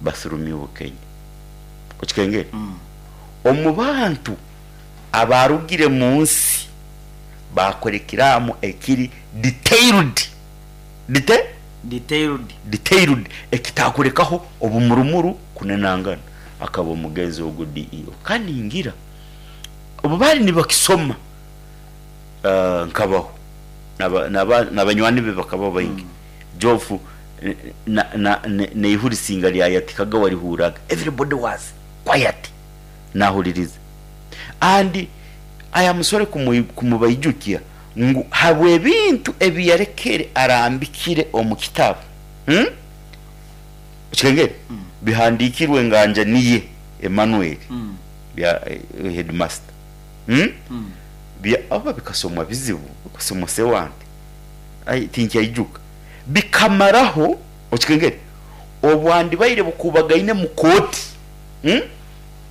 Basurumye Bukenya okikengere. Omu bantu abarugire mu nsi bakora ekiraamo ekiri detailed, Detailed. Detailed, ekitakulekaho obumurumuru kunenangana, akaba omugenzi ogu DEO. Kandi ngira obu baali nibakisoma nkabaho, n'abanywani be bakaba baingi. Geoff n'eihurisinga lyayatikaga warihurraga, everybody was quiet nahuliriza. And I am sorry kumubaijukya ngu habw'ebintu ebi yalekere arambikire omu kitabu, Okikengere? Bihandiikirwe nganja niye Emmanuel bya headmaster. Bya oba bikasomwa bizibu, bikasomwa Sewante, ai tinkyaijuka. Bikamaraho, okikengere, obwandibaire bukubagaine mu kooti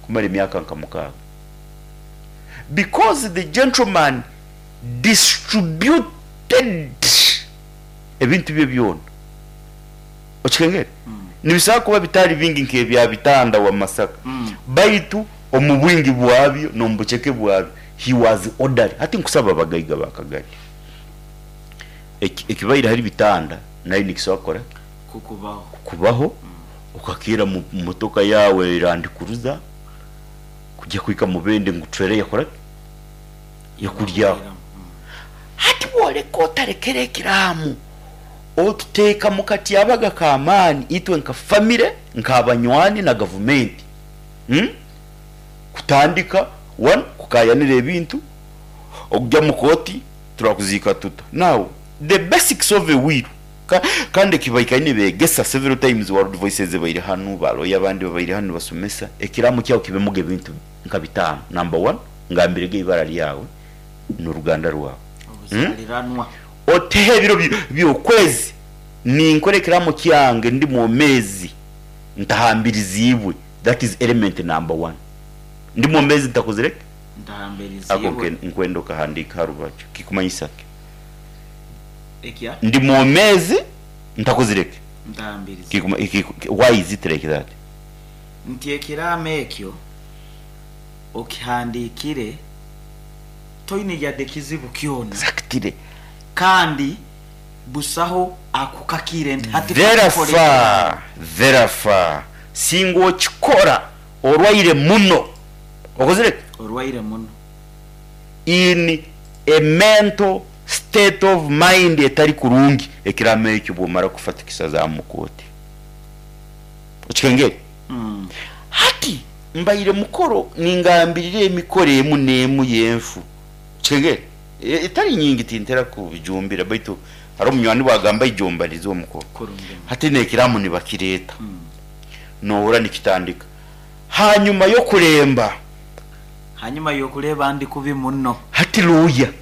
kumara emyaka nka 6. Because the gentleman distributed ebintu bye byona. Okikengere? Nibisobora kuba bitali bingi nk'ebya Bitanda wa Masaka, baitu omu bwingi bwabyo n'omu buceke bwabyo, he was orderly. Hati nkusaba abagaiga ba Kagadi, ekibaire hali Bitanda nayo nikisobora kukora ki? Kukubaho. Kukubaho, okakeera mu motoka yaawe Land Cruiser kugya kuhika Mubende ngu trailer yakora ki? Yakuryaho. Hati bwoleka otalekere ekiraamo, otuteeka mu katyabaga k'amaani itwe nka famire, nk'abanywani na gavumenti kutandika one kukayanira ebintu, okugya mu kooti turakuziika tuta. Now the basics of a will kandi eki baikaire nibeegesa several times, World Voices ebaire hanu, ba lawyer abandi babaire hanu nibasomesa, ekiraamo kyawe kibemuga ebintu nka bitaano. Number one, ngambirege ibara lyawe n'oruganda rwawe. Obuzaliranwa. Oteho ebiro by'okwezi, ninkora ekiraamo kyange ndi mwomeezi ntahambiriziibwe, that is element number one. Ndi mwomeezi ntakozire ki? Ako Ntahambiriziibwe. nkwenda okahandiika ha rubaju. Kikumanyisa ki? Ekya? Ndi mwomeezi ntakozire ki? Ntahambiriziibwe. Why is it like that? Nti ekiraamo ekyo okihandiikire toine yadde kizibu kyona. Exactly. Kandi busaho akukakiire nti hati kakukora Therefore, ekiraamo. therefore, singa okikora orwaire muno, okozire ki? Orwaire muno. In a mental state of mind etari kurungi, ekiraamo ekyo bwomara kufa tukisazaamu mu kooti. Okikengere? Hati mbaire mukoro ningambirira emikoro emu n'emu y'enfu. Okikengere? Etari nyingi tintera kubijumbira baitu haroho omunywani bwagamba ija ombalize omukoro. Hati n'ekiraamo nibakireeta. Nohurra nikitandika hanyuma y'okulemba. Hanyuma y'okureeba ndi kubi muno. Hati lawyer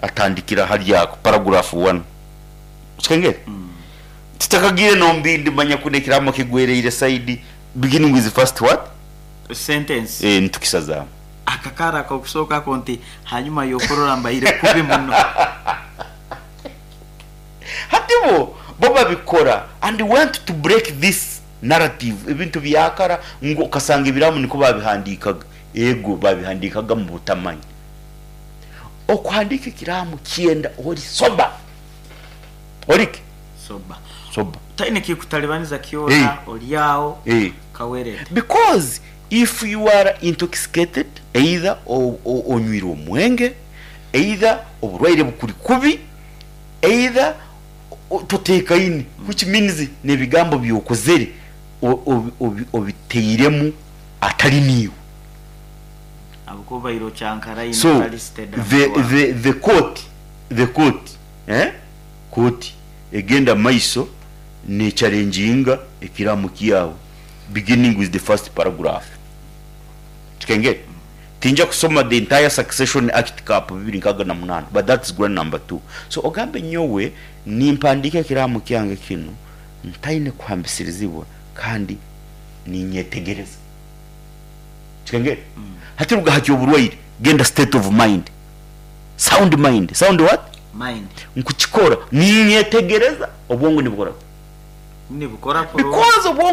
atandikira hali ako paragraph one. Okikengere? Tutakagiire n'omu bindi manya kunu ekiraamo kigwereire side beginning with first what? Sentence. Nitukisazaamu. Akakaara ak'okusooka ako nti hanyuma y'okurora mbaire kubi muno. Hati bo babikora and want to break this narrative, ebintu byakara ngu okasanga ebiraamo nikwo babihandiikaga. Ego babihandiikaga mu butamanya. Okuhandiika ekiraamo kyenda ori sober. Ori ki? Sober. Sober. Taine kikutalibaniza kyona, ori aho kawerere. Because if you are intoxicated, either onywire omwenge, either oburwaire bukuri kubi, either toteekaine, which means n'ebigambo by'okozere obiteiremu atari niiwe. Ahabw'okuba obaire okyankaraine So otari steady aha mutwe waawe. the court, kooti egenda maiso n'echalenjinga ekiraamo kyawe beginning with the first paragraph. Kikengere? Tinja kusoma the entire Succession Act Cap 2068 but that's ground number two. So ogambe nyowe nimpandiika ekiraamo kyange kinu ntaine kuhambisirizibwa kandi ninyetegereza. Kikengere? Hati ruga ha ky'oburwaire genda state of mind. Sound mind, sound what? Mind. Nkukikora ninyetegereza obwongo nibukora ki? Nibukora kurungi. Because obwongo.